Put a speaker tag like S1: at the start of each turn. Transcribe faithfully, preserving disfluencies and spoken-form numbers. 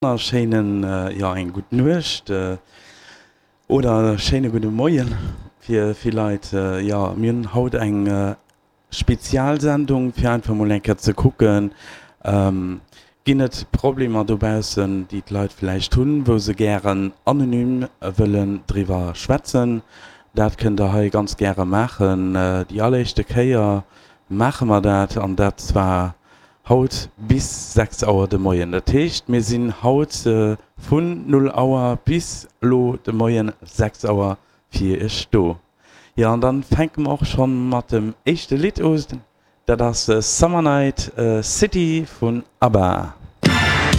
S1: Wonnerschéinen, jo eng gutt Nuecht oder schéine gudde Moien fir vill Leit. Jo, mir hunn haut eng Spezialsendung fir einfach mol eng Kéier ze kucken, ginn et Problemer dobaussen, déi d'Leit vläicht hunn, wou se gären anonym wëllen driwwer schwätzen. Dat kënnt der hei ganz gäre maachen. Déi alleréischte Kéier maache mer dat an dat zwar haut bis sechs Auer de Moien. Dat heescht, mir sinn haut vun null Auer bis elo de Moien sechs Auer fir iech do. Jo, an dann fänke mer och schonn mat dem éischte Lidd un. Dat ass Summer Night City vun ABBA.